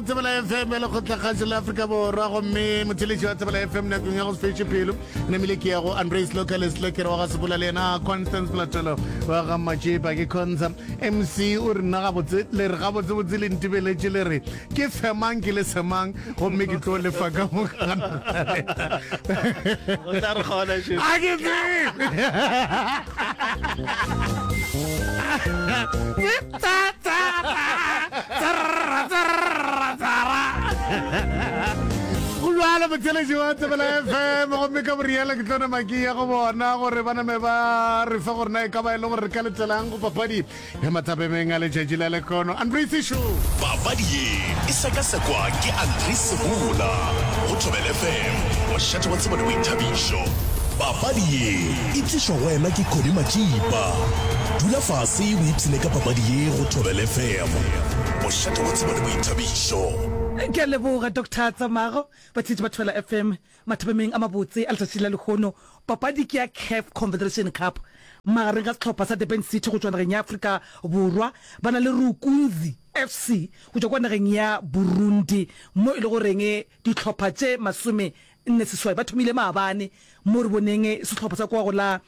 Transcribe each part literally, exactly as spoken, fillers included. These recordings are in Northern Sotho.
Go Tsebela F M ya Lekgotlakgašo la Afrika Borwa, gomme motheletši wa Tsebela F M nakong ya go se fetše pelo namile ke ya go Andres Locales Lekere wa ga Sebola, le yena Constance Platelo wa ga Matšepa. Ke Consa M C o re nna gabotse le re gabotsebotse le ntebeletše le re ke femang ke le semang, gomme ke tlo lefa ka moka. O tla re kgona še. A ke tsebe. Tsa, tsa, tsa, tsarra, tsarra, tsara. Go bjalo, motheletši wa Tsebela F M, gomme ka boriela ke tlo nama ke ya go bona gore ba name ba re fa gore na e ka ba e le gore re ka letelang go papadi ya mathapemeng a letšatši la lekgono. Andres Sho. Papadi ye e sekasekwa ke Andres Sebula go Thobel F M, mošate wa tsebo le boithabišo. Papadi ye e tlišwa go wena ke Cody Matšipa. Dula fase o ipshine ka papadi ye go Thobel F M, mošate wa tsebo le boithabišo. Ke a leboga, Doctor Tsamago. Batheetši ba Thobela F M, mathapemeng a mabotse a letšatši la lehono, papadi ke ya CAF Confederation Cup magareng ga sehlopha sa Durban City go tšwa nageng ya Afrika Borwa ba na le Rukunzi F C go tšwa kwa nageng ya Burundi, mo e le goreng dihlopha tše masome nne seswai ba thomile maabane, mo re boneng sehlopha sa kwa go la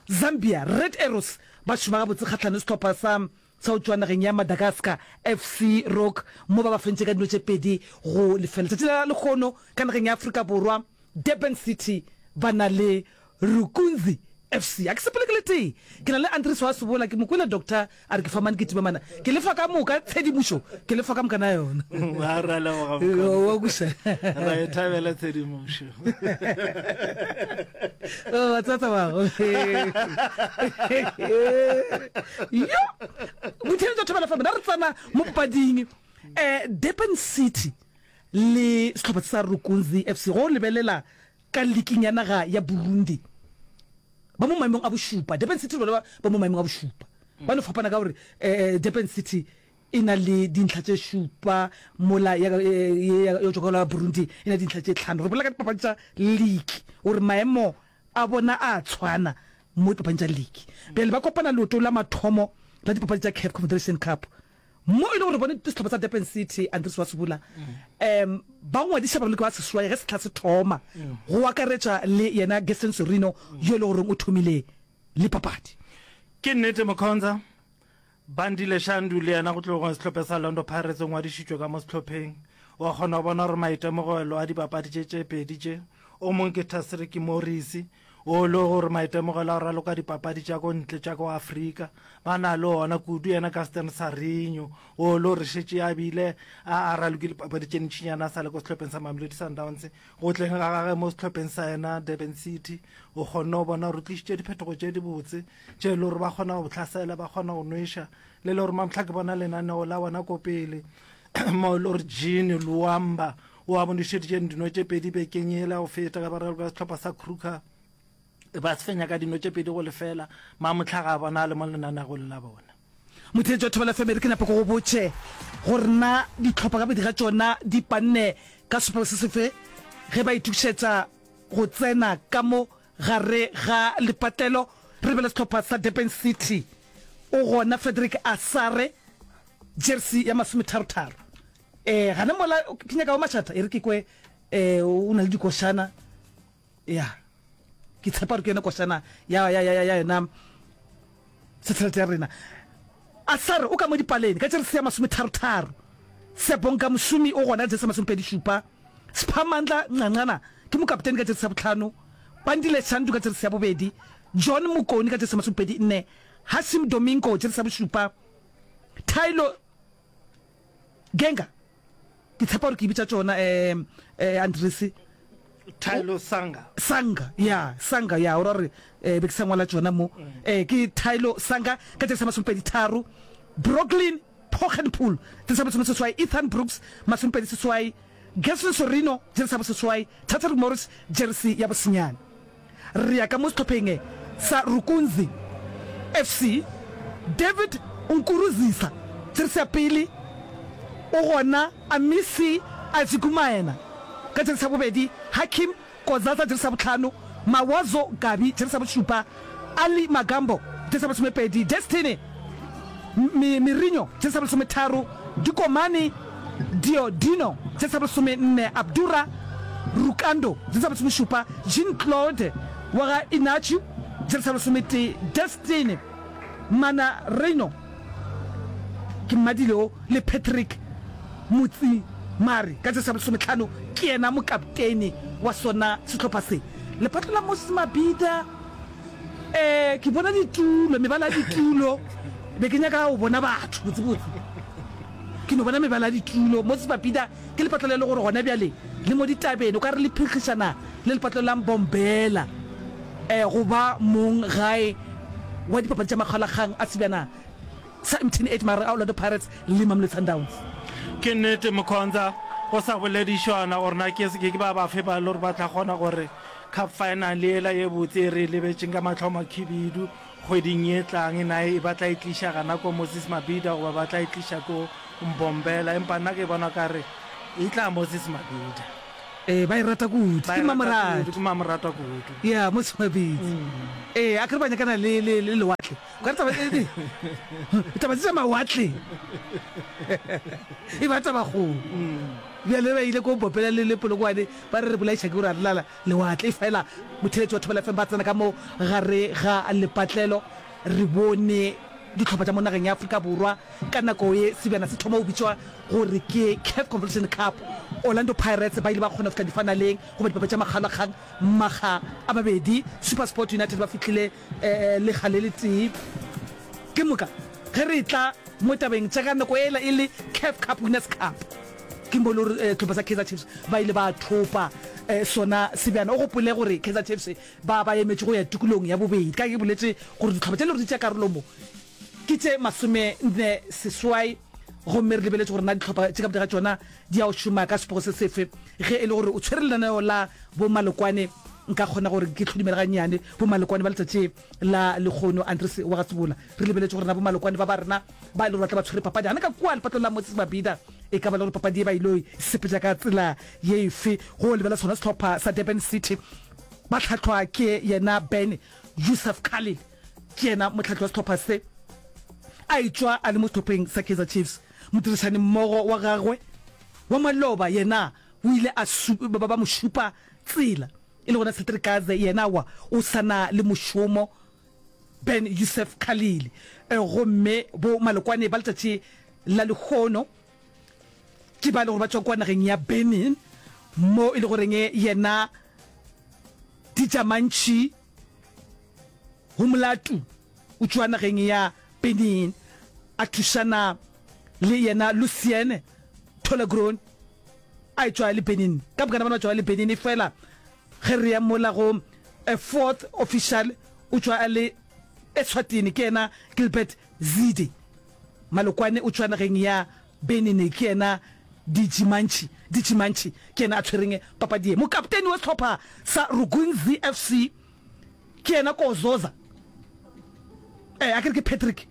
Zambia Red Arrows ba šoma gabotse kgahlano le sehlopha sa sa go tšwa nageng ya Madagascar F C Rock, mo ba ba fentše ka dino tše pedi go lefela. Letšatši la lehono ka nageng ya Afrika Borwa Durban City ba na le Rukunzi F C. A ke sepele ke le tee, ke na le Andries wa Sebola. Ke mo kwele doctor a re ke famane ke timamana, ke lefa ka moka tshedimošo, ke lefa ka moka na yona. A ra leboga. Wa kuša. Ra e thabela tshedimošo. Wa tseba tsabago yo motheletša Thobela F M, na re tsena mo papading um Durban City le sehlopha sa Rukunzi F C. Go lebelela ka liking ya naga ya Burundi, ba mo maemong a bošupa. Durban City le bona ba mo maemong a bošupa, ba no fapana ka gore um Durban City e na le dintlha tše šupa, mola ya yo tšwa ka la Burundi e na dintlha tše tlhano. Re bolela ka dipapadi tša league gore maemo a bona a tshwana mo dipapading tša league. Bjale ba kopana leoto la mathomo la dipapadi tša CAF Confederation Cup, mo e le gore bone sehlopha sa Durban City, Andres wa Sebula, um ba ngwadiša baraloki ba seswai ge sehla se thoma, go akaretša le yena Gaston Sorino yo e le goreng o thomile le papadi. Ke nnete, Mokhonza. Bandile Shandu le yena go tloga sehlopha sa Orlando Pirates o ngwadišitšwe ka mo sehlopheng. Wa kgona go bona gore maitemogelo a dipapadi tše tše pedi tše, o mongwe ke Tasriki Morris o le gore maitemogelo a go raloka dipapadi tša ko ntle tša ko Afrika ba na le ona kudu, yena Gaston Sarinho o le gore šetše a bile a a ralokile dipapadi tše ntšinyana a sa le ko sehlopheng sa Mamelodi Sundowns. Go tleng ga gage mo sehlopheng sa yena Durban City, o kgonne go bona gore o tlišitše diphetogo tše dibotse tše e le gore ba kgona go hlasela, ba kgona go nweša, le le gore mamtlha ke bona lenaneo la bona ko pele mo e le gore Jean Luamba o a bonešeditše dino tše pedi bekeng ela go feta ka baraloka sehlopha sa Kruger ba se fenya ka dino tše pedi go lefela. Mamotlha ga bona a le mo lenanegong la bona. Motheetši wa Thobela F M, re ke nape ke go botše gore na dihlopha ka bobedi ga tšona di panne ka sebopego se sefe ge ba itokišetša go tsena ka mo gare ga lepatlelo. Re lebele sehlopha sa Durban City, o gona Frederick Asare, jersey ya masometharo-tharo. Eh gana mola ke nyaka wa mašata, e re ke kwe eh o na le dikošana ya ke tshepa gore ke yona košana ya ya ya ya yona satellite ya rena. Asare o ka mo dipaleng ka jersey ya masometharo-tharo. Sebonka Mošomi o gona ka jersey ya masomepedi šupa. Sphamandla Ncancana ke mokaptene ka jersey ya bohlano. Bandile Shandu ka jersey ya bobedi. John Mokoni ka jersey ya masomepedi nne. Hashim Domingo jersey ya bošupa. Tylo Genga, ke tshepa gore ke bitša tšona um um Andres. Tylo Sanga. Sanga, ya, Sanga, ya, o ra gore eh, be ke sa ngwala tšona mo. Eh, ke Tylo Sanga ka jersey ya masomepedi tharo. Brooklyn Poggenpoel jersey ya masome seswai. Ethan Brooks masomepedi seswai. Gerson Sorino jersey ya boseswai. Taterik Morris jersey ya bosenyane. Re ya ka mo sehlopheng sa Rukunzi F C, David Nkurunziza jersey ya pele, o gona Amisi Azigumaena ka jersey ya bobedi, Hakim Kozaza jersey ya bohlano, Mawazo Gabi jersey ya bošupa, Ali Magambo jersey ya bolesomepedi, Destiny Mirinho jersey ya bolesometharo, Dikomane Diodino, jesi ya bolesomenne, Abdura Rukando, jesi ya bolesomešupa, Jean Claude wa ga Inacio, jesi ya lesometee, Destiny Manarino, ke mmadile o, le Patrick Motsimare ka jesi ya bolesometlhano, ke yena mokaptene wa sona sehlopha se. Lephatlo la Moses Mabhida, Ee, ke bona ditulo, mebala ya ditulo. Be ke nyaka go bona batho botsebotse. Ke no bona mebala ya ditulo. Moses Mabhida ke lepatlo le le gore gona bjale le mo ditabeng, o ka re le phikgišana le lepatlo la Mbombela um go ba mong gae wa dipapadi tša makgaolakgang a sebjana sa M T N eight magareng a Orlando Pirates le Mamelodi Sundowns. Ke nnete Mkhonza, go sa boledišwana gore na ke ke ba bafe ba le gore ba tla kgona gore Cup final yela ye botse e re e lebetšeng ka mahlo a makhibidu kgweding ye tlang, na e ba tla e tliša gana ko Moses Mabhida goba ba tla e tliša ko Mbombela? Empa nna ke bona o ka re e tla Moses Mabhida. Ee, ba e rata kudu. Ba Ke e rata kudu, mmamoratwa. ke mmamoratwa kudu. Ya, Moses Mabhida. Ee, akere ba nyakana le, le, le lewatle. O ka re taba, e, taba tše tša mawatle e ba tabakgolo. Bjale ba ile ko Mbombela le, le Polokwane, ba re re bolaiša ke gore a re lala lewatle. Efela motheeletši wa Thobela F M ba tsena ka mo gare ga lepatlelo. Re bone dihlopha tša mo nageng ya Afrika Borwa ka nako ye sebjana se thoma go bitšwa gore ke CAF Confederation Cup. Orlando Pirates ba ile ba kgona go fihla difanaleng goba dipapadi tša makgaolakgang makga a mabedi. SuperSport United ba fihlile lekga le letee. Ke moka ge re etla mo tabeng tša ka nako yela e le CAF Cup Winners Cup, ke mo e le gore sehlopha sa Kaizer Chiefs ba ile ba thopa sona sebjana. O gopole gore Kaizer Chiefs ba ba emetše go ya tikolong ya bobedi. Ka ge ke boletše gore dihlopha tše e le gore di tšea karolo mo ke tše masome nne seswai, gomme re lebeletše gore na dihlopha tše ka bobedi ga tšona di ya go šoma ka sepego se sefe. Ge e le gore o tshwere lenaneo la bo Malokwane, nka kgona gore ke hlodumele gannyane bo Malokwane ba letšatši la lehono. Andries wa ga Sebola, re lebeletše gore na bo Malokwane ba ba rena ba e le gore ba tla ba tshwere papadi gana ka kua lepatlong la Moses Mabhida, e ka ba le gore papadi ye ba ilo e sepetša ka tsela ye efe. Go lebela sona sehlopha sa Durban City ba hlahlwa ke yena Ben Youssef Khalil, ke yena mohlahli wa sehlopha se, a etšwa a le mo sehlopheng sa Kaizer Chiefs. Modirišanimmogo wa gagwe wa maloba yena o ile a ba mo šupa tsela, e le gona Cedric Kaze yena wa o sa na le mošomo. Ben Youssef Khalil. Gomme bo malokwane ba letšatši la lehono ke ba e le gore ba tšwa kua nageng ya Benin, mo e le goreng yena Dijamantši Humulatu o tšwa nageng ya Benin, a thušana le yena Lucien Tolegrone a etšwa le Benin. Ka mokana bona ba tšwa le Benin, efela ge re ya mola go fourth official o tšwa a le Eswatini, ke yena Gilbert Zide. Malokwane o tšwa nageng ya Benin, ke yena Dijimantši, Dijimantši ke yena a tshwereng papadi ye. Mokapteni wa sehlopha sa Rugunzi F C ke yena Kozoza, eh, a ke re ke Patrick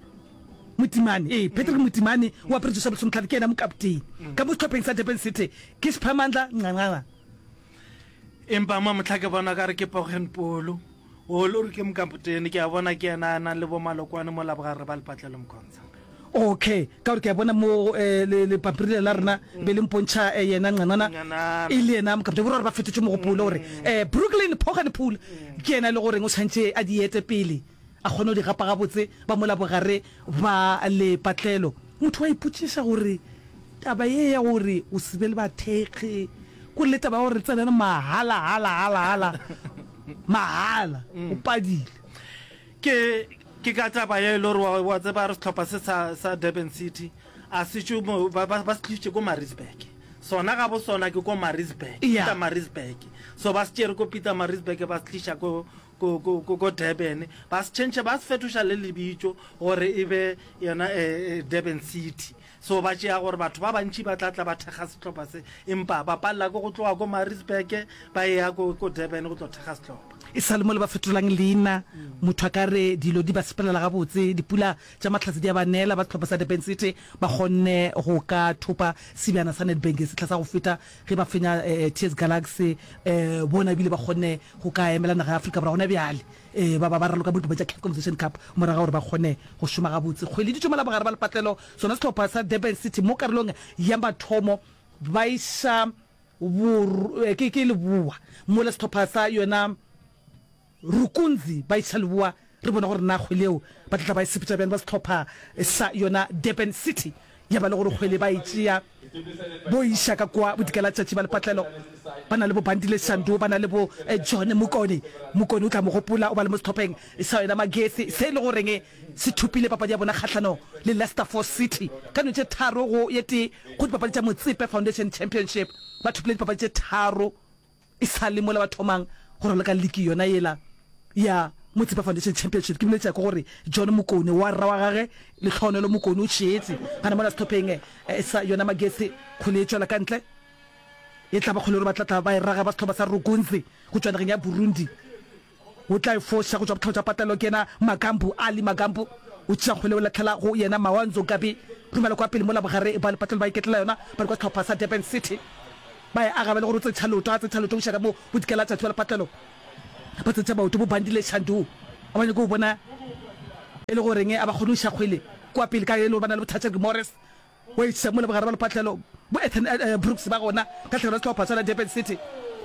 Motimane, ee, Patrick Motimane o apere jesi ya bolesometlhano, ke yena mokapteni. Ka mo sehlopheng sa Durban City ke Siphamandla Ncanqana. Empa mo mohla ke bona ka re ke Pogen Polo, o le gore ke mokapotene, ke a bona ke yena a nang le bo Malokwane mo labogare ba lepatlelo Mkhonza. Okay, ka gore ke a bona mo eh, le, le pampiri lela la rena be le mpontšha eh, yena Ncanana Ncanana. e le yena mokapotene, bo ra gore ba fetotše mogopolo gore eh, Brooklyn Pogen Pool ke yena e le goreng o tshwanetše a di ete pele. A kgone go di gapa gabotse, ba mola bogare ba lepatlelo. Motho wa ipotšiša gore taba ye ya gore o se be le bathekgi, kore le taba ya gore re tsenane mahala, hala, hala, hala, mahala, o padile. Ke, ke ka taba ye e le gore wa, wa tseba re sehlopha se sa, sa Durban City a se tšwe mo, ba, ba, ba se tlišitše ko Maritzburg. Sona gabo sona ke ko Maritzburg, Yeah. Pietermaritzburg. So ba se tšere ko Pietermaritzburg ba se tliša ko, ko, ko, ko, ko Durban, ba se tšhentšha, ba se fetoša le lebitso gore e be yona eh, eh, Durban City. So ba tšea gore batho ba bantši ba tla tla ba thekga sehlopha se, empa ba palela ke go tloga ko Maritzburg ba eya ko, ko Durban go tlo thekga sehlopha. E sa le mo le ba fetolang leina, motho a ka re dilo di ba sepelela gabotse, dipula tša mahlatse di a ba nela, ba sehlopha sa Durban City ba kgonne go ka thopa sebjana sa Nedbank sehla sa go feta ge ba fenya T S Galaxy, bona ebile ba kgonne go ka emela naga ya Afrika Borwa gona bjale ba ba ba raloka mo dipapadi tša CAF Confederation Cup morago ga gore ba kgone go šoma gabotse. Kgwele di tšo mola bogare ba lepatlelo, sona sehlopha sa Durban City mo karolong ya mathomo ba iša bor, ke, ke leboa mola sehlopha sa yona Rukunzi ba iša leboa. Re bona gore na kgwele yeo ba tla tla ba e sepetša bjang ba sehlopha sa yona Durban City, ya ba le gore kgwele ba e tšea bo iša ka kwa bodikelatšatši ba lepatlelo. Ba na le bo Bandile Shandu, ba na le bo John Mokone. Mokone o tla mo gopola o ba le mo sehlopheng sa yona Magesi, se e le goreng se thopile papadi ya bona kgahlano le Leicester Force City ka no tše tharo go ye tee go dipapadi tša Motsepe Foundation Championship. Ba thopile dipapadi tše tharo e sa le mola ba thomang go raloka liki yona yela ya Motsepe Foundation Championship. Ke boletša ke gore John Mokone wa rra wa gage Lehlohonolo Mokone o tšeetše gana mola sehlopheng sa yona Magesi. Kgwele e tšwela ka ntle, e tla ba kgwele gore ba tla tla ba e raga ba sehlopha sa Rukunzi go tšwa nageng ya Burundi. O tla e foša go tšwa bohlabo tša patlelo ke yena Magambu, Ali Magambu o tšea kgwele o lahlela go yena Mawanzo Gabi, romela kwa pele mola bogare ba lepatlelo ba iketlela yona ba le kwa sehlopha sa Durban City. Ba e aga ba le gore o tsentšha leoto, a tsentšha leoto o iša ka mo bodikela tšatši ba lepatlelo ba tsentšha maoto bo Bandile Shandu a ba nyake go bona e le goreng a ba kgone go iša kgwele kwa pele ka e le gore ba na le bothata ke Morris wa iša mola bogare ba lepatlelo bo Ethan Brooks ba gona ka tlhagelo ya sehlopha sa Durban City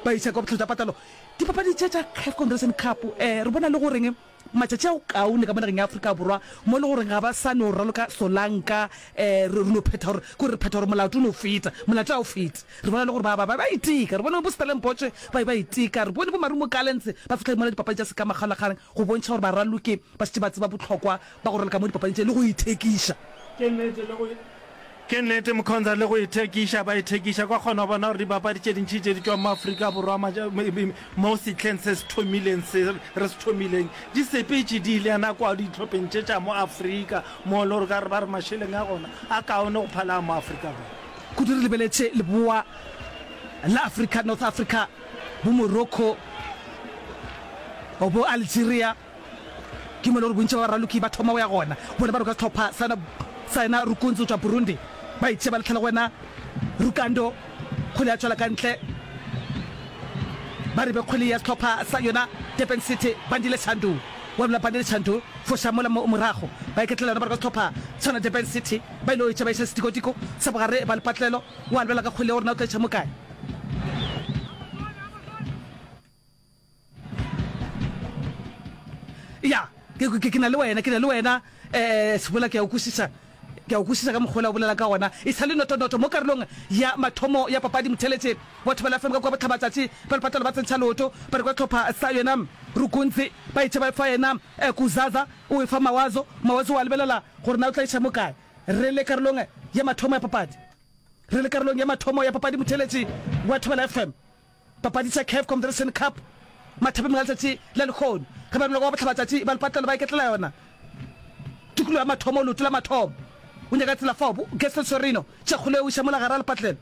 ba iša kwa bohloko tša patlelo. Dipapadi tše tša CAF Confederation Cup re bona le goreng matšatši a go kaone ka mo nageng ya Afrika Borwa mo e le goreng ga ba sa no raloka solanka re re no phetha gore ke gore re phetha gore molato o no feta, molato ga o fete. Re bona le gore ba ba ba iteka, re bone bo Stellenbosch ba ba iteka, re bone bo Marumo Gallants ba fihla mola dipapadi tša sekamakgaolakgang go bontšha gore baraloki ba šetše ba tseba bohlokwa ba go raloka mo dipapading tše le go ithekiša. Ke nnete le go Ke nnete Mkhonza le go ithekiša ba ithekiša kwa kgona go bona gore dibapadi tše dintši tše di tšwang mo Afrika Borwa mo sehleng se se thomileng se re se thomileng di sepetše di ile yana kwa dihlopheng tše tša mo Afrika mo le gore ka re ba re mašeleng a gona a kaone go phala a mo Afrika Borwa. Kudu re lebeletše leboa la Afrika, North Africa, bo Morocco, bo Algeria. Ke mo e le gore bontši ba baraloki ba thoma go ya gona. Bona ba roka sehlopha sa sa yena Rukunzi go tšwa Burundi. Ba itšea ba lahlela go wena Rukando. Kgwele ya tšwela ka ntle. Ba re be kgwele ya sehlopha sa yona Durban City. Bandile Shandu wa bula Bandile Shandu foša mola morago. Ba iketlela yona ba roka sehlopha sa yona Durban City. Ba ile go itšea ba iša setikotiko sa bogare ba lepatlelo. Wa lebela ka kgwele gore na o tla iša mo kae. Ya, ke, ke, ke na le wena, ke na le wena, eh, Sebola, ke a o kwešiša. Ke a o kwešiša ka mokgwa wola o bolela ka gona. E sa le notonoto mo karolong ya mathomo ya papadi, motheeletši wa Thobela F M ka kua Bohlabatšatši ba lepatlelo ba tsentšha leoto, ba re kwa hlopha sa yena Rukuntsi, ba itše ba e fa yena eh, Kuzaza, o e fa Mawazo, Mawazo wa lebelela gore na o tla iša mo kae. Re le karolong ya mathomo ya papadi. Re le karolong ya mathomo ya papadi, motheeletši wa Thobela F M. Papadi tša CAF Confederation Cup mathapeng a letšatši la lehono ge ba romela kwa bohlabatšatši ba lepatlelo ba iketlela yona tikologo ya mathomo leoto la mathomo o nyaka tsela fao bo Gaston Sorino tša kgole o iša mola gare a lepatlelo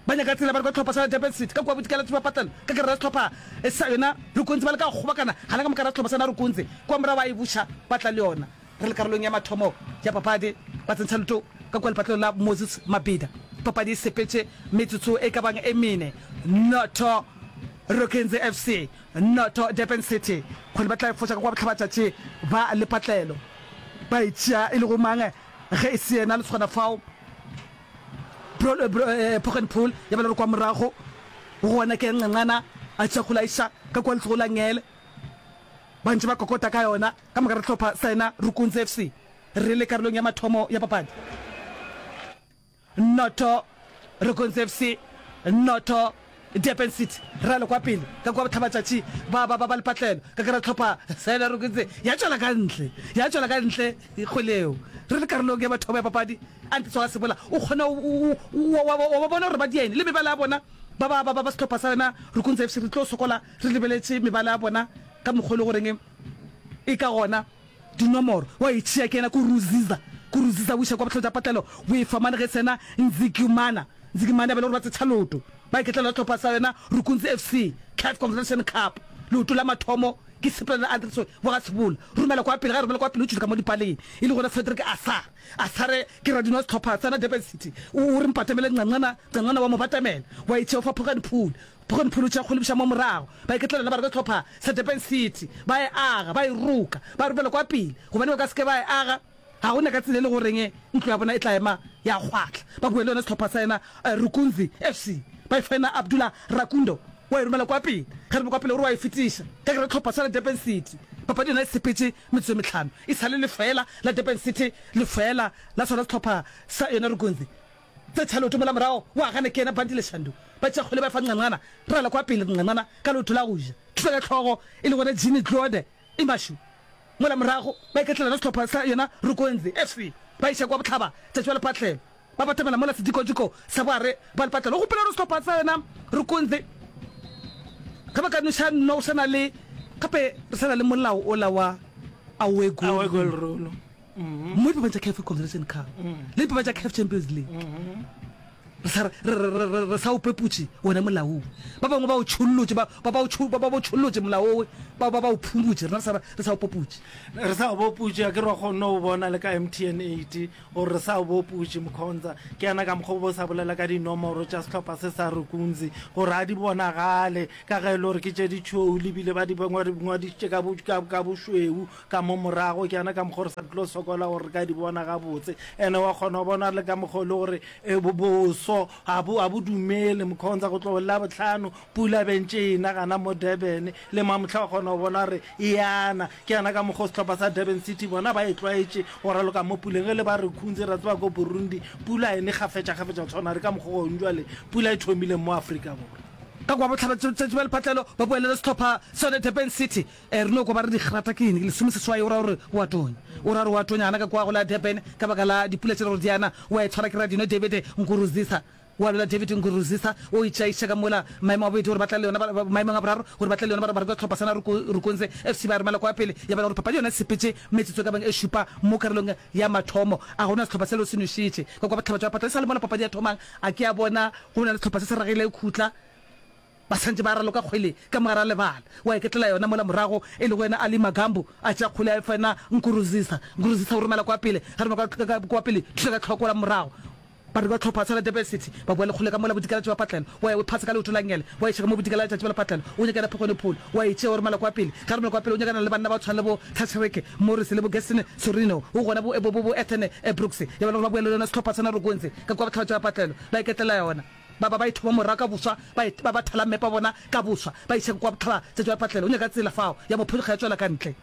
ba nyaka tsela ba re kwa tlhopha sa Durban City ka kua bodikela tšo patlelo ka gare ga sehlopha sa yona Rukunzi ba leka go kgobokana gana ka moka ga sehlopha sa yona Rukunzi kua morago ba e buša ba tla le yona Re le karolong ya mathomo ya papadi, ba tsentšha leoto ka kua lepatlelong la Moses Mabhida. Papadi e sepetše metsotso e ka bang e mene, noto Rokenzi F C, noto Durban City. Kgwele ba tla e foša ka kua bohlabatšatši ba lepatlelo. Ba e tšea e le go mang ge e se yena lesogana fao? Poggenpoel ya ba le gore kwa morago go gona ke Nqanqana a tšea kgwele a iša ka kua letsogo la ngele. Ba ntše ba kokota ka yona. Ka moka re hlopha sa yena Rukunzi F C re le karolong ya mathomo ya papadi. Noto Rukunzi F C, noto Durban City. Re a le kwa pele ka kua bohlabatšatši ba ba ba ba lepatlelo ka kara hlopha sa yena Rukunzi ya tšwela ka ntle, ya tšwela ka ntle kgwele yeo. Re le karolong ya mathomo ya papadi. Antes wa Sebola o kgona wa ba bona gore ba diene le mebala ya bona ba ba ba ba sehlopha sa yena Rukunzi F C re tlo sokola re lebeletše mebala ya bona ka mokgwa e le goreng E ka gona dinomoro wa e tšea ke yena Kuruziza. Kuruziza o iša kwa bohlale bja patlelo bo e fa mane ge sena Nzigimana. Nzigimana ba e le gore ba tsetšha leoto ba iketlela le hlopha sa yona Rukunzi F C, CAF Confederation Cup. Leoto la mathomo ke sepela le Andres wa ga Sebola. Romela kwa pele, ga romela kwa pele o tšwile ka mo dipaleng. E le gona Cedric Asare. Asare ke radino wa sehlopha sa Durban City. O, o re mpatamele Ncanqana, Ncanqana wa mo batamela. Wa e tšea o fa Phogane Phule. Phogane Phule o tšea kgwele buša mo morago. Ba iketlela ba re ke sehlopha sa Durban City. Ba e aga, ba e roka, ba romela kwa pele. Gobane ba ka se ke ba e aga, ga go na ka tsela e le goreng ntlo ya bona e tla ema ya kgwahla. Ba boele yona sehlopha sa yena Rukunzi F C. Ba e fa yena Abdullah Rakundo. Wa e romela kwa pele. Ge re kwa pele o re wa e fetiša. Ka ke re tlhopha sa la Durban City. Papadi yona e sepetše metsotso e mehlano. E sa le lefeela la Durban City, lefeela la sona sehlopha sa yona Rukunzi. Tse tšha leoto mola morago wa gana ke yena Bandile Shandu. Ba tšea kgwele ba e fa Ncanqana. Rala kwa pele Ncanqana ka leoto la go ja. Thuša ka hlogo e le gona Jean Claude Imashu. Mola morago ba iketlela le sehlopha sa yona Rukunzi F C. Ba iša kwa bohlaba tšatši ba lepatlelo. Ba batamela mola sedikodiko sa boare ba lepatlelo. Gopola gore sehlopha sa yona Rukunzi ge ba ka noša nno o sa na le gape re sa na le molao ola wa away goal away goal rule. Rule. Mo dipapadi tša CAF Confederation Cup le dipapadi tša CAF Champions League re sa re re re re re sa o peputše wona molao. Ba bangwe ba o tšhollotše, ba ba ba o tšho ba ba o tšhollotše molao owe, ba ba ba o phumutše, rena re sa re sa o poputše. Re sa o boputše, a ke re wa kgonne go bona le ka M T N eight gore re sa o boputše. Mkhonza ke yana ka mokgwa o bo sa bolela ka dinomoro tša sehlopha se sa Rukunzi gore a di bonagale ka ge e le gore ke tše ditšhweu lebile ba di ngwadišitše ka bo- ka- ka bošweu ka mo morago. Ke yana ka mokgwa re sa tlo sokola gore re ka di bona gabotse. Ene wa kgona go bona le ka mokgwa o le gore eh, bo- boso ga bo ga bo dumele, Mkhonza, go tlo la botlhano pula bentše e na gana mo Durban le mamohla wa kgona go bona gore e yana. Ke yana ka mokgwa sehlopha sa Durban City bona ba e tlwaetše go raloka mo puleng. Ge le ba re Khunzi, ra tseba ko Burundi pula ene kgafetša-kgafetša go tshwana re ka mokgwa gong jwale pula e thomileng mo Afrika Borwa. Ka kwa bohlaba tšatši ba lephatlelo ba boelele sehlopha sone Durban City. Eh, re no kwa ba re digrata ke eng lesome seswai, o ra gore o a tonya, o ra gore o a tonya gana ka kwa go la Durban ka baka la dipula tše le gore di ana. Wa e tshwara ke Radino David Nkurunziza, wa lwela David Nkurunziza o itšaiša ka mola maemong a bobedi gore ba tla le yona ba- maemong a boraro gore ba tla le yona ba ba reka sehlopha sana Rukunzi F C ba romela kwa pele. Ya bana gore papadi yona e sepetše metsotso e ka bang e šupa mo karolong ya mathomo, a gona sehlopha selo se nošitše ka kwa bohlaba tša patla e sa le mola papadi ya thomang. A ke a bona go na le sehlopha se se ragile khutla, ba santše ba raloka kgwele ka mogare a lebala. Wa iketlela yona mola morago e lego yena Ali Magambo a tšea kgwele a e fa yena Nkurunziza. Nkurunziza o romela kwa pele, ga romela kwa, kwa, kwa pele thuša ka tlhoko la morago. Ba re ba tlhopha sa la Durban City ba boa le kgwele ka mola bodikela tša patlelo. Wa ya o phasa ka leoto la ngele, wa iša ka mo bodikela letšatši ba lepatlelo. O nyakana Phogone Pholo, wa e tšea o romela kwa pele, ga romela kwa pele o nyakana le banna ba tshwana le bo Tachreke Morris le bo Gaston Sorino, o gona bo bo bo, bo Ethan Brooks. Ya ba le gore ba boele le yona sehlopha sa Narukonze ka kwa bohlaba tša patlelo ba iketlela yona. Ba ba ba e thoma morago ka boswa, ba e ba ba thala mmepe wa bona ka boswa, ba iša kwa bohlaba tša tšwa patlelo. O nyaka tsela fao ya mophonyokga ya tšwela ka ntle,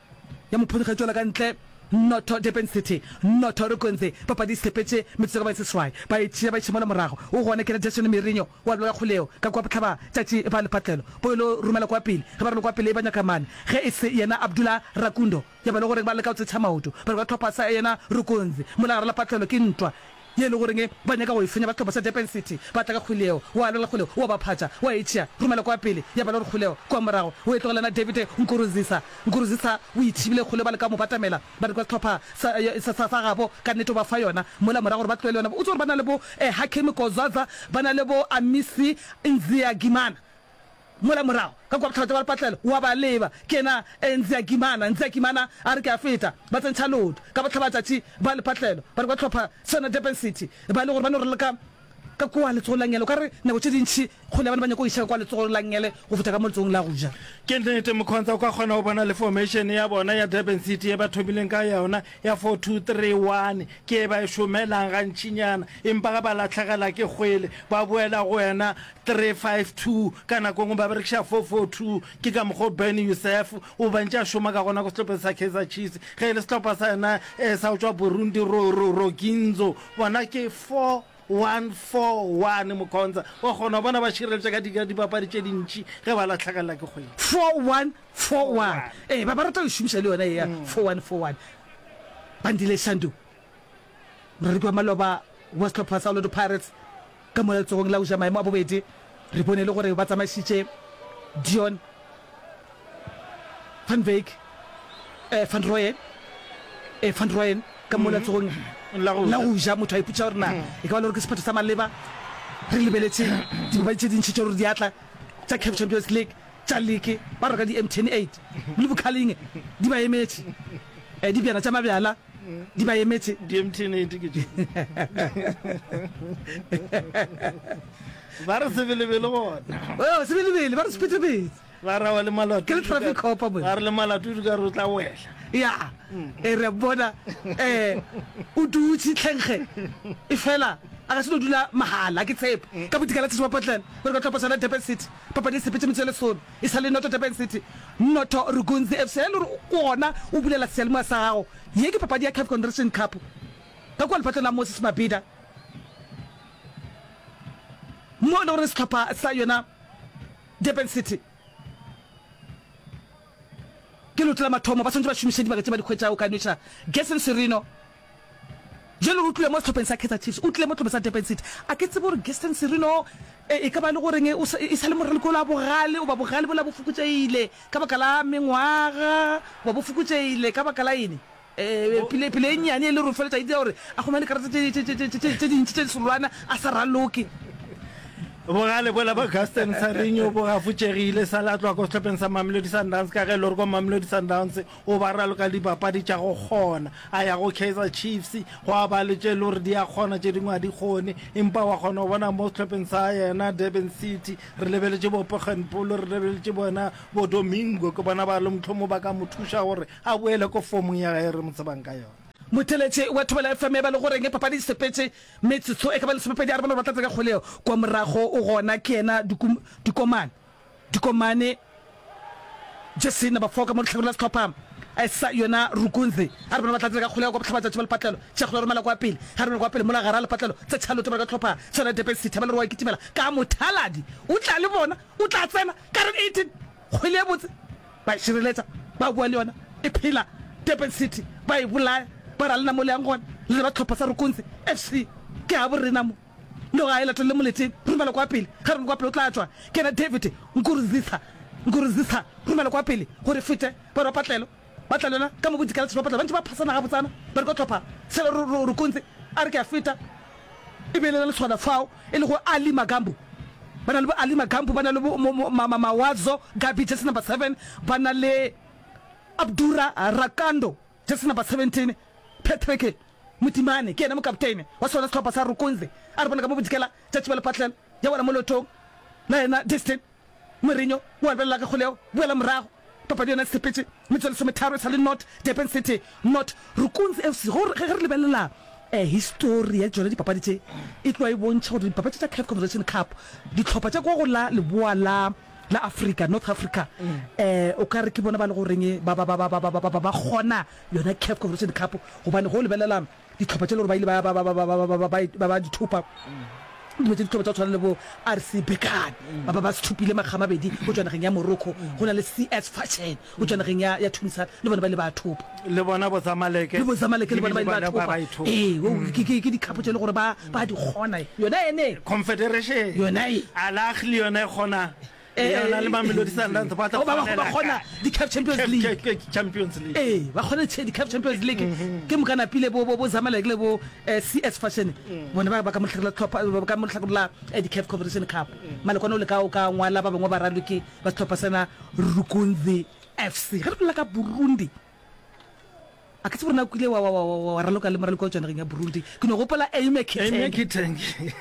ya mophonyokga ya tšwela ka ntle. Noto Durban City, noto Rukunzi. Papadi e sepetše metsotso ka ba e seswai, ba e tšea ba iša mola morago. O gona ke Jason Mirinho wa lwa kgoleo ka kwa bohlaba tšatši ba lepatlelo bo ilo romela kwa pele. Ge ba romela kwa pele e ba nyaka mane ge e se yena Abdullah Rakundo. Ya ba le gore ba leka go tsetšha maoto ba re ba tlhopha sa yena Rukunzi mola gare lepatlelo. Ke ntwa ye e le goreng ba nyaka go e fenya ba sehlopha sa Durban City. Ba tla ka kgwele yeo, wa lwela kgwele, wa ba phatša, wa e tšea, romela kwa pele. Ya ba le gore kgwele kwa morago o e tlogela na David Nkurunziza. Nkurunziza o ithibile kgwele, ba leka go mo batamela ba re kwa sehlopha sa, sa, sa, sa gabo ka nnete o ba fa yona mola morago gore ba tlohele yona. O tsebe gore ba na le bo eh, Hakim Kozaza, ba na le bo Amisi Nziagimana mola morago ka kwa bohlaba tša ba lepatlelo. Wa ba leba ke yena eh, Nziagimana. Nziagimana a re ke a feta, ba tsentšha leoto ka bohlaba tšatši ba lepatlelo ba re kwa tlhopha sona Durban City. Ba le gore ba no re ka ka kwa letsogong la ngele, o ka re nako tše dintši kgole ya bana ba nyako iša ka kwa letsogong la ngele go feta ka mo letsogong la go ja. Ke nnete, Mkhonza, o ka kgona go bona le formation ya bona ya Durban City ye ba thomileng ka yona ya four two three one ke e ba e šomelang gantšinyana, empa ge ba lahlegela ke kgwele ba boela go wena three five two, ka nako engwe ba berekiša four four two. Ke ka mokgwa o Ben Youssef o ba ntše a šoma ka gona ko sehlopheng sa Kaizer Chiefs. Ge e le sehlopha sa yena eh, sa go tšwa Burundi Ro, Ro, Roginzo, bona ke four one four one. Mkhonza, wa kgona go bona ba šireletša ka di- ka dipapadi tše dintši ge ba lahlegelela ke kgwele. four one four one, ee, ba ba rata go e šomiša le yona ye ya four one four one. Bandile Shandu, moraloki wa maloba wa sehlopha sa Orlando Pirates ka mola letsogong la go ja maemo a bobedi, re bone le gore ba tsamaišitše Dion van Wyk, eh, van Rooyen, eh, van Rooyen ka mola letsogong La go la ja. go ja. Motho a ipotša gore na e ka ba le gore ke sephetho sa maleba. Re lebeletše dipapadi tše dintši tša gore di atla tša CAF Champions League. tša leke ba reka di M T N eight le bokhaling di ba emetše eh, dibjana tša mabjala di ba emetše. Di M T N eight ke tše. Ba re sebelebele gona. Oh, sebelebele ba re sephetephethe. Ba ra wa le malato. Ke le traffic cop mo. Ba re le malato di ka re o tla wela. Ya. E re bona eh o dutše tlhenkge. E fela a ka se no dula mahala ke tshepe. Ka bodikela tšatši ba Portland ba re ka tlhopa sona Durban City. Papadi e sepetše metsotso e lesome. E sa le noto Durban City. Noto Rugunzi F C. E le gore gona o bulela seyalemoya sa gago. Ye ke papadi ya CAF Confederation Cup. Ka kua lepatlong la Moses Mabhida. Mo e le gore sehlopha sa yona Durban City ke leoto la mathomo, ba swanetše ba šomiše dibaka tše ba di hwetšago ka nweša Gerson Sirino. Jwale o tlile mo sehlopheng sa Kaizer Chiefs, o tlile mo sehlopheng sa Durban City. A ke tsebe gore Gerson Sirino e ka ba e le goreng e sa le moraloki ola bogale, goba bogale bola bo fokotšegile ka baka la mengwaga, goba bo fokotšegile ka baka la eng. Pele, pele e nnyane e le gore feletša e dira gore a humane karata tše, tše, tše, tše, tše dintši tše disolwana a sa raloke. Bogale bola ba Gaston Sarinho bo gafotšegile sa la tloga ko sehlopheng sa Mamelodi Sundowns ka ge e le gore ko Mamelodi Sundowns o ba raloka dipapadi tša go kgona. A ya go Kaizer Chiefs gwa ba le tše e le gore di a kgona tše dingwe a di kgone, empa wa kgona go bona mo sehlopheng sa yena Durban City re lebeletše bo Poggenpoel, re lebeletše bona bo Domingo, ke bona ba le mohlomong ba ka mo thuša gore a boele ko fomong ya gae re mo tsebang ka yona. Motheeletši wa Thobela F M e ba le goreng papadi e sepetše metsotso e ka ba lesomepedi a re bona gore ba tlatse ka kgwele yeo kwa morago o gona ke yena Dikomane Dikomane jersey number four ka mo lehlakoreng la sehlopha sa yona Rukunzi a re bona ba tlatse ka kgwele yeo kwa bohlabatšatši ba lepatlelo tšea kgwele romela kwa pele ga romela kwa pele mola gare a lepatlelo tse tšhalote ba ka hlopha sa yona Durban City ba le re wa kitimela ka mothaladi o tla le bona o tla tsena ka re eighteen kgwele e botse Ba e šireletša, ba boa le yona e phela Durban City, ba e bolaya, ba re a lena mo le yang gona, le ba tlhopha sa Rukunzi F C, ke gabo rena mo. Noga e latelele moleteng, romela kwa pele, ge romela kwa pele o tla tšwa, ke yena David Nkurunziza, Nkurunziza, romela kwa pele gore e fete, ba re ba patlelo, ba tla le yona ka mo bodikela ba patlelo, ba ntše ba phasana gabotsana, ba re kwa tlhopha sela Rukunzi, a re ke a feta. E be e le lesogana fao e lego Ali Magambu. Ba na le bo Ali Magambu, ba na le bo Mawazo Gabi, jersey number seven, ba na le Abdura Rakando, jersey number seventeen, Patrick Motimane ke yena mokapteine wa sona sehlopha sa Rukunzi. A re bone ka mo bodikela tša tšiba lepatlelo ya wela mo leotong la yena Destin. Mourinho o a lebelela ka kgolego, boela morago. Papadi yona e sepetše metsotso e lesometharo e sa le not Durban City not Rukunzi F C. Go ge re lebelela histori ya tšona dipapadi tše e tloga e bontšha gore dipapadi tša CAF Confederation Cup dihlopha tša kwa go la leboa la la Afrika, North Africa, o ka re ke bona ba le goreng ba ba ba ba ba ba ba kgona yona CAF Confederation Cup gobane ge o lebelela dihlopha tše le gore ba ile ba ba ba ba ba ba ba ba di thopa dilo tše dihlopha tša go tshwana le bo R C Berkane ba ba ba se thopile makga a mabedi go tšwa nageng ya Morocco, go na le C S Fashion go tšwa nageng ya ya Tunisia le bona ba ile ba thopa. Le bona bo Zamalek le bo Zamalek le bona ba ile ba thopa. Ee, ke ke ke dikhapo tše le gore ba ba di kgona yona ene Confederation yona e Al Ahly yona e kgona yona le Mamelodi Sundowns ba tla ba ba kgona di CAF Champions League Champions League ee ba kgona di CAF Champions League ke moka napile bo bo Zamalek le bo C S Fashion bona ba ba ka mohlakore la tlhopha ba ka mohlakore la di CAF Confederation Cup malekwane o le ka o ka ngwala ba bangwe ba raloki ba sehlopha sena Rukunzi F C ge re bolela ka Burundi A ke tsebe gore na o kile wa, wa, wa, wa, wa raloka le moraloki wa go tšwa nageng ya Burundi. Ke no gopola Aime Aime Kitenge. Kitenge.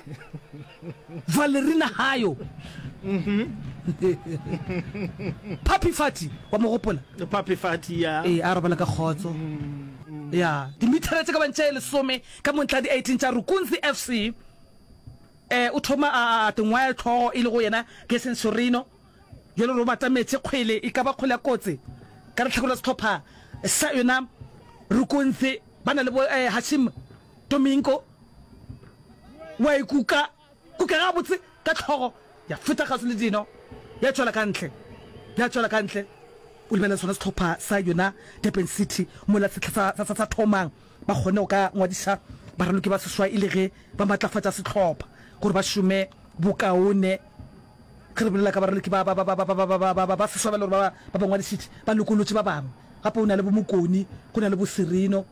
Valerina Hayo. Papi Fati, wa mo gopola? Papi Fati, ya. Ee, a robala ka kgotso. Ya, dimithara tše ka bang tše lesome ka mo ntlha di eighteen tša Rukunzi F C. Eh, o thoma a, a, a tengwaya hlogo e lego yena Gerson Sorino. Bjale gore o batametše kgwele, e ka ba kgwele ya kotsi ka lehlakore la sehlopha sa yona Rukunzi. Ba na le bo eh, Hashim Domingo wa e kuka, kuka gabotse ka hlogo, ya feta kgauswi le dino, ya tšwela ka ntle, ya tšwela ka ntle. O lebelela sona sehlopha sa yona Durban City mola sehla sa, sa, sa, sa thomang, ba kgone go ka ngwadiša baraloki ba seswai e le ge ba matlafatša sehlopha gore ba šome bokaone. Ge re bolela ka baraloki ba ba ba ba ba ba ba ba ba ba seswa ba le gore ba ba ba ngwadišitše, ba lokolotše ba bangwe. Gape go na le bo Mokoni, go na le bo Sirino.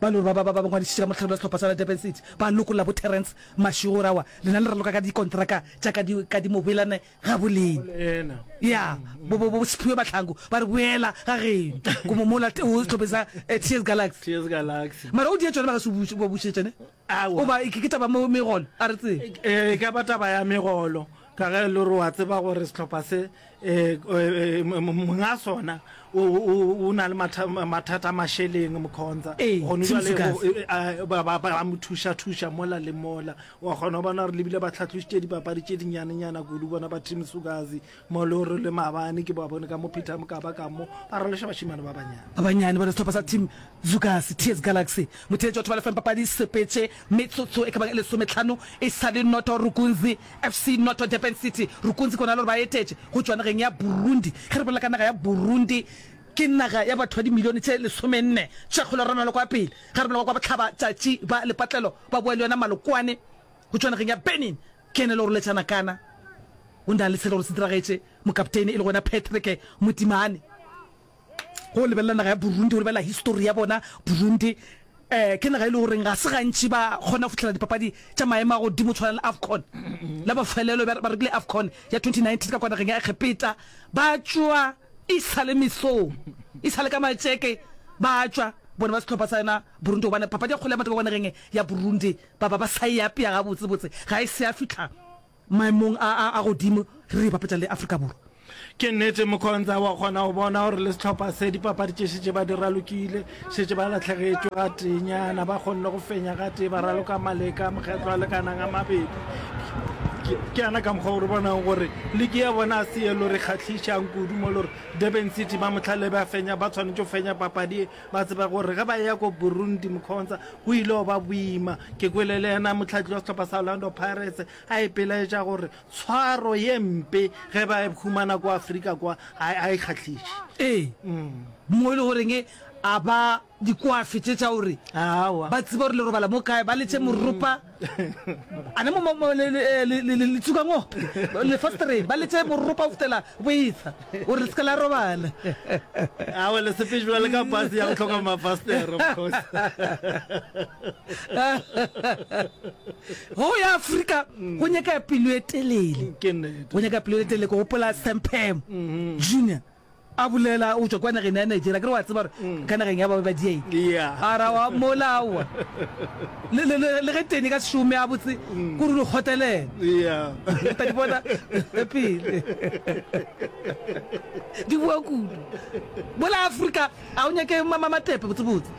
Ba le gore ba, ba, ba, ba ngwadišitše ka mohlare la sehlopha sa Durban City, ba lokolla bo Terence Mashego gore aowa, lena le raloka ka dikontraka tša ka di, ka di mobelane ga bolena. Ya, bo, bo, bo Siphiwe Mahlangu ba re boela ga geno, ko mo mola o sehlopheng sa eh, TS Galaxy. TS Galaxy. Mara o die tšona ba ga se o ba bušetše ne? Aowa. O ba, ke, ke taba mo megolo, a re tsebe. E, e ka ba taba ya megolo, ka ge e le gore wa tseba gore sehlopha se Monga sona o na le mathata a mašeleng, Mkhonza. Gone jwale ba mo thuša-thuša mola le mola. Wa kgona go bona gore le bile ba hlatlošitše dipapadi tše dinyanenyana kudu bona ba Team Sukazi mo le gore le maabane ke ba bone ka mo Peter Mokaba ka mo ba raloša bašemane ba banyane. Ba banyane bona sehlopha sa Team Zukazi, T S Galaxy. Motheetši wa Thobela F M papadi e sepetše metsotso e ka bang e lesometlhano e sa le noto Rukunzi F C Noto Durban City. Rukunzi ke bona le gore ba etetše go tšwa nageng ya Burundi. Ge re bolela ka naga ya Burundi, ke naga ya batho ba dimilione tše lesomenne tša kgole rena le kwa pele. Ge re bolela kwa bohlaba tšatši ba lepatlelo ba boa le yona Malokwane go tšwa nageng ya Benin. Ke yena e le gore letšana kana o na le se le gore se diragetše mokapteine e le gona Patrick Motimane. Go lebelela naga ya Burundi, go lebelela histori ya bona, Burundi um ke naga e le goreng ga se gantši ba kgona go fihlela dipapadi tša maemo a godimo tshwana le AFCON. La mafelelo ba ba rekile AFCON ya twenty nineteen ka kwa nageng ya Egepeta, ba tšwa e sa le mesong, e sa le ka matšeke ba tšwa bona ba sehlopha sa yona Burundi, gobane papadi ya kgwele ya maoto ka kwa nageng ya Burundi ba ba ba sa e apea gabotsebotse, ga e se ya fihla maemong a a a godimo re e bapetša le Afrika Borwa. Ke nnete, Mkhonza, wa kgona go bona gore le sehlopha se dipapadi tše šetše ba di ralokile, šetše ba lahlegetšwe gateenyana, ba kgonne go fenya gatee, ba raloka maleka a mokgetlo a lekanang a mabedi. Ke, ke yana ka mokgwa o re bonang gore liki ya bona a se ye lo re kgahlišang kudu mo le gore Durban City ba mohlale ba fenya, ba tshwanetše go fenya papadi ye, ba tseba gore ge ba eya ko Burundi, Mkhonza, go ile go ba boima. Ke kwele le yena mohlahli wa sehlopha sa Orlando Pirates a ipelaetša gore Tshwaro ye mpe ge ba e humana kwa Afrika kwa ga ga e kgahliše. Ee, mo e le goreng a ba dikwafe tše tša gore Aowa. ba tsebe gore le robala mo kae, ba letše moropa a ne mo mo mo le le le le le tsuka ngope lefastereng, ba letše moropa go fihlela bo etsha gore le se ke la robala. Aowa, le sepetše bjale ka pase ya go hloka mafastere, of course. Go ya Afrika go nyaka pelo e telele. Ke nnete. Go nyaka pelo e telele. Ke gopola Sam Pam Junior a bolela o tšwa kwa nageng ya Nigeria. Ke re wa tseba gore ka nageng ya ba ba dieng. Yeah. A ra wa mola aowa. Le le le le ge tene ka se šome a botse kore o di kgotelela. Yeah. O tla di bona pele. Di boa kudu. Mola Afrika a o nyake matepe botse botse.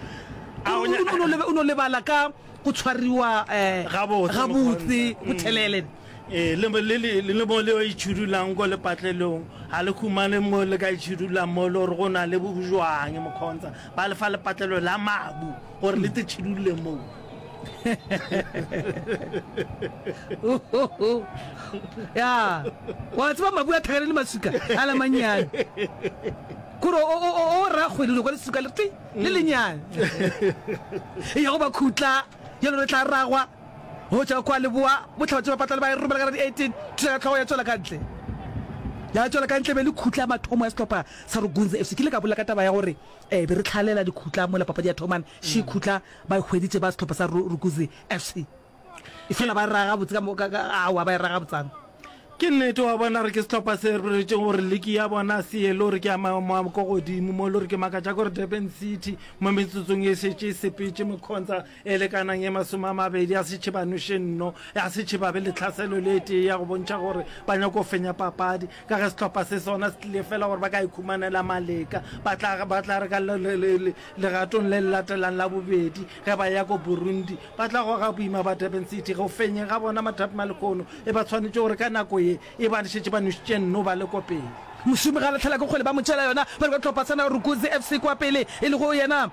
A o nya- O no o no lebala ka go tshwariwa eh, Gabotse, gabotse mokgontha. bothelele. Ee, le, le, le, le mo le itšhidulang ko lepatlelong, ga le humane mo le ka itšhidulang mo le gore go na le bojwang, mokgontsa. Ba le fa lepatlelo la mabu gore le te tšhidulle moo. Ya, wa tseba mabu a thakane le maswika a la mannyane. Kore o, o, o, o ra kgwedi o kwa leswika le twi le lenyane. E ya go ba khutla, ya lore tla ragwa. Go tšwa kwa leboa, bohlaba tše bapatlane ba e romela ka la di eighteen, thuša ka hlogo ya tšwela ka ntle. Ya tšwela ka ntle be le khutla ya mathomo ya sehlopha sa Rugunzi F C. Ke ile ka bolela ka taba ya gore eh be re hlalela dikhutla mola papadi ya thomane, še khutla ba e hweditše ba sehlopha sa Rugunzi F C. Efela ba e raga gabotse ka mo, ka, ka, aowa ba e raga gabotsana. Ke nnete, wa bona gore ke sehlopha se re boletšego gore liki ya bona se ye le gore ke ya maemo a ko godimo mo le gore ke makatša gore Durban City mo metsotsong e šetše e sepetše mekgontsa e lekanang e masome a mabedi a setšhe ba noše nno ya setšhe ba be le tlhaselo le e tee ya go bontšha gore ba nyako fenya papadi ka ge sehlopha se sona se tlile fela gore ba ka ikhumanela maleka ba tla ba tla re ka legatong le le latelang la bobedi ge ba ya ko Burundi ba tla goga boima ba Durban City go fenyeng ga bona mathapma lehono E ba tshwanetše gore ka nako ye e ba šetše ba nwešitše nno ba le ko pele. Mošomi ga a lahlela ke kgwele ba mo tšeela yona ba le kwa hlopha sa Rukuzi F C kwa pele e lego yena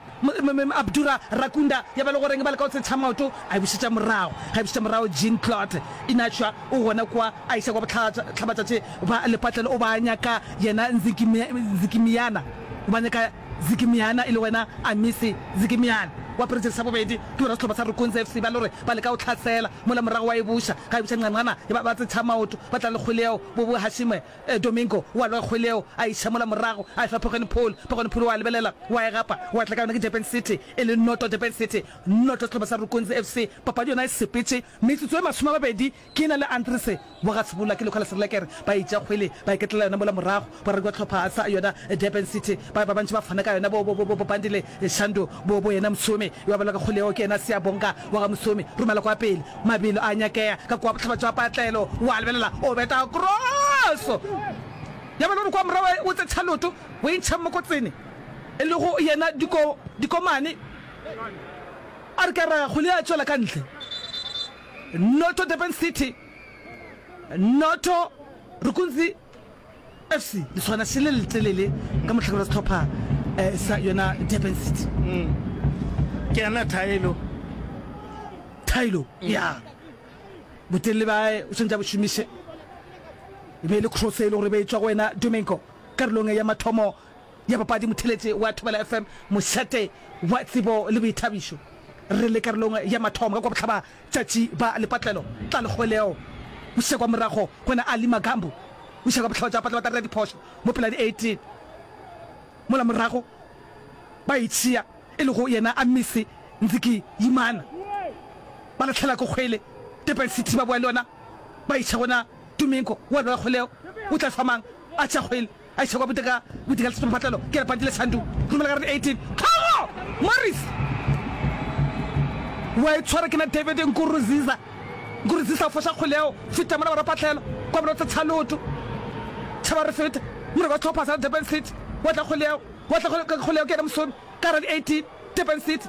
Abdura Rakunda ya ba le goreng ba leka go tshetšha maoto a e bušetša morago ga e bušetša morago Jean Claude Inachwa o gona kwa a iša kwa bohlabatšatši ba lepatlelo o ba nyaka yena Nzikimiyana o ba nyaka Zikimiyana e lego yena Amisi Zikimiyana. Wa apere jeresi ya bobedi ke bona sehlopha sa Rukunzi F C ba le gore ba leka go hlasela mola morago wa e buša. Ga e buša nqanqana ba ba tsetšha maoto ba tla le kgwele yeo bo bo Hashime Domingo wa lwa kgwele yeo a iša mola morago a e fa Phekgwane Paul. Phekgwane Paul wa lebelela wa e gapa wa tla ka yona ke Durban City e le noto Durban City noto sehlopha sa Rukunzi F C. Papadi yona e sepetše metsotso e masome a mabedi ke na le Andries wa ga Sebola ke lekgwa la Serelekere ba e tšea kgwele ba e ketlela yona mola morago boraredi ba hlopha sa yona Durban City ba ba bantši ba fana ka yona bo bo bo bo Bandile Shandu bo bo yena Msomi yo a balwa ka kgwele yeo ke yena Siyabonga wa ga Msomi romela kwa pele mabelo a nyakea ka kwa bohlaba jwa patlelo wa lebelela o beta cross ya ba le gore kwa morago o tsetšha loto o e ntšha mokotsene e lego yena Diko Dikomane a re ka ra kgwele ya tšwela ka ntle Noto Durban City Noto Rukunzi F C leswana še le letelele ka mohlakore wa sehlopha sa yona Durban City. Ke yena Thaelo. Thaelo, ya. Botelele ba o swanetše a bo šomiše. E be e le cross e le gore e be e tšwa go wena Domingo karolong ya mathomo ya papadi motheletše wa Thobela F M mošate wa tsebo le boithabišo. Re le karolong ya mathomo ka kwa bohlaba tšatši ba lepatlelo tla lekgweleo bošego kwa morago gona Ali Magambo bošego kwa bohlaba tša patla ba tla dira diphošo mo pela di eighteen mola morago ba itšhia e lego yena Amisi Nziki Yimana ba lahlela ko kgwele Durban City ba boa le yona ba itšha gona Domingo wa lwa kgweleo o tla fa mang a tšea kgwele A iša kwa boteka boteka le sepatlelo ke lepantši le Shandu romela ka re eighteen Tlhogo Morris wa e tshwara ke na David Nkuruziza Nkuruziza o foša kgwele yeo feta mola barapatlelo kwa bolotse tshaloto tšhaba re feta moreko wa sehlopha sa Durban City wa tla kgwele yeo wa tla kgwele yeo ke yena Mosomi ka ra di eighteen Durban City